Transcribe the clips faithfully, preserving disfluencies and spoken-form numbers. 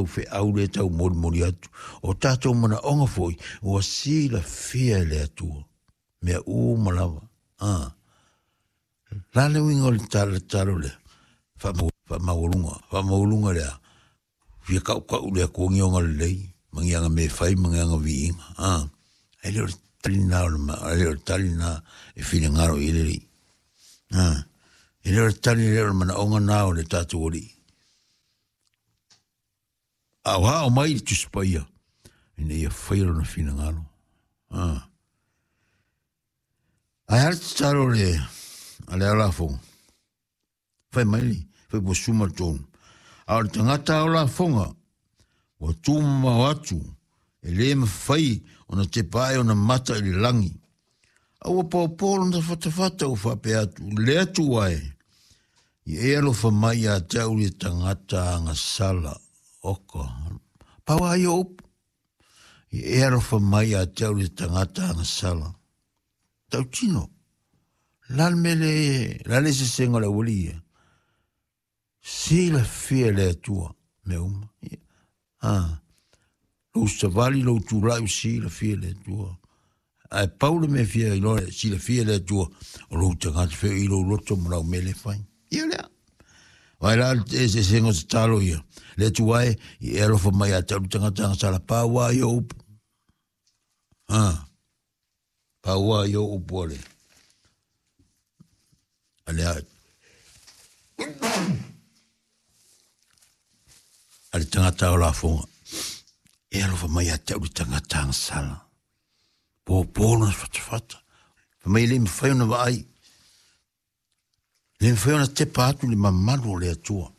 Feau le taumolimoli atu. O tatou manaoga foi ua silafia e le Atua mea uma lava. A la le uiga o le tatalo lea, faamaualuga, faamaualuga lea, fia kaukau le Atua ni ona lelei, ma ni aga mea fai ma ni aga viiga. A e le o le tali lena o le, e le o le tali lena e finagalo i le Alii. A e le o le tali lea o le manaoga na o le tatou Alii. A o ao mai le Tusi Paia ina ia faia lona finagalo. Ah. Ae a le tatalo le a le lafoga? Fai mai le fai po suma le tonu. A o le tagata ao lafoga ua tumamao atu e le mafai ona tepa ai ona mata i le lagi. A ua paopao lona fatafata ua faapea atu, le Atua e, ia e alofa mai ia te au le tagata agasala. Oka, pau lava ia o upu. Ia e alofa mai ia te au le tagata agasala. Tautino, la le mea le, la le sesega o le aualii ia. Silafia e le Atua mea uma. Ah, lou savali, lou tulai ua silafia e le Atua. Ae pau le mea fia iloa silafia e le Atua, o lou tagata feo i lou loto ma lau mea le fai. Ia lea. Vai la le eseesega o tatalo ia. Le Atua e, ia e alofa mai ia te au le tagata agasala, pau lava ia o upu. Ah, pau lava ia o upu a le, a le, a le tagata o lafoga. E alofa mai ia te au le tagata agasala. Pōpō lona fatafata. Fai mai e le mafai ona vaai. E le mafai ona tepa atu le mamalu o le Atua.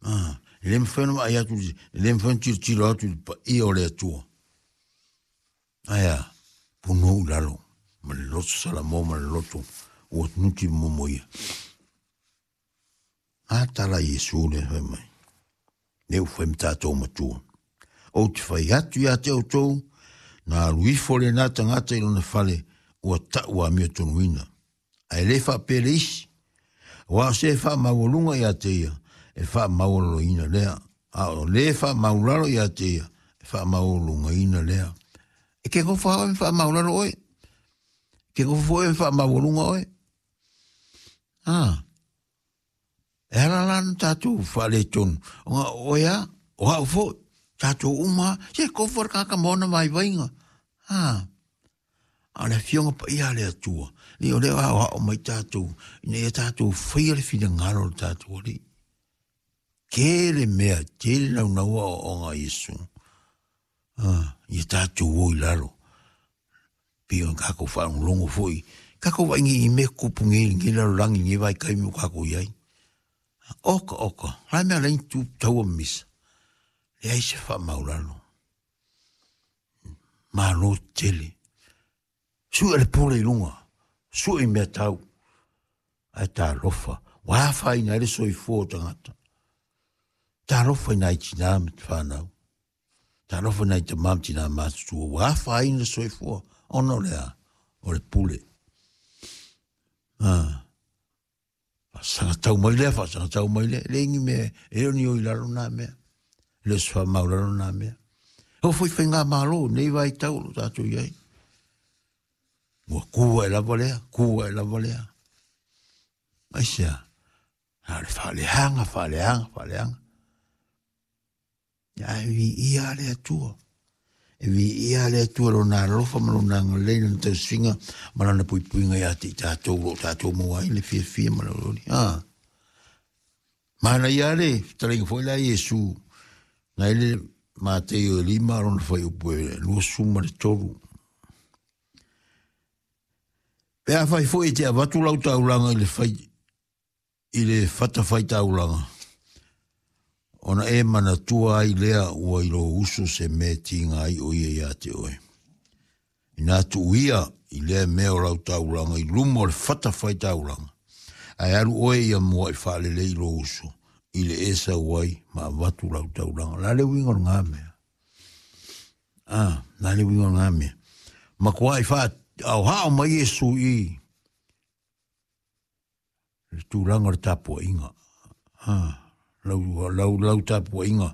Ah, e le mafai ona vaai atu, e le mafai ona tilotilo atu i le paia o le Atua. Ae a, punou i lalo, ma le loto Salamo ma le loto ua nuti momo ia. A tala Iesu lea fai mai, lea ua fai ma tatou matua. Ou te fai atu ia te outou, na alu ifo lena tagata i lona fale, ua tau amiotonuina. Ae le faapea le isi, aua o se e faamaualuga ia te ia, e faamaualaloina lea. A o le faamaulalo ia te ia, e faamaualugaina lea. E ke gofa oe ma faamaulalo oe. Ke gofa foi ma faamaualuga oe. Ah. E ala la na tatou faaletonu. Ona oe a, o au foi, tatou uma, se kofa le kaka ma ona vaivaiga. Ah. A o le afioga paia a le Atua, le o lea o aoao mai tatou, ina ia tatou faia le finagalo o le tatou Alii. Tele mea, tele naunaua aoaoga a Iesu. Ah, ia tatou o i lalo. Pei ona tatou faalogologo foi, tatou vaai nei i mea tutupu nei i lenei lalolagi i lenei vaitaimi ua tatou i ai. Oka, oka, o le a le mea la e tu taua ma misa? Leai se faamaulalo. Malo tele. Sue le pule i luga, sue i mea tau. Ae talofa, ua afaina ai le soifua o tagata. Talofa i nai tinā ma te whanau. Talofa i nai tamā ma tinā matutua, ua afaina le soifua, ona o le a, o le pule. Ah. Faasagatau mai lea, faasagatau mai lea, e leai ni mea, e le o ni o i lalo nā mea. E le o se faamaulalo nā mea. E oo foi i faigamalo i nei vaitau o lo o tatou i ai. Ua ku ae lava lea, ku ae lava lea. Aisea? Na o le faaleaga, faaleaga, faaleaga. Ae viia le Atua. E viia le Atua lona alofa ma lona agalelei, lona tausiga ma lana puipuiga ia te i tatou o lo o tatou maua ai le fiafia ma le olioli. Ah. Manaia le fetalaiga foi la Iesu, na i le Mateio e lima lona fuaiupu e luasefulu ma le tolu. Pe afai foi e te avatu lau taulaga i le fai, i le fatafaitaulaga, ona e manatua ai lea ua i lou uso se mea e tiga ai o ia ia te oe. Ina tuuia i lea mea o lau taulaga i luma o le fatafaitaulaga, ae alu oe ia mua'i faalelei i lou uso, i le e sau ai ma avatu lau taulaga. O le a le uiga o lena mea? Ah, o le a le uiga o lena mea? Matuai faahaohao mai Iesu i le tulaga o le tapuaiga. Ah, lau, lau, lau tapuaiga.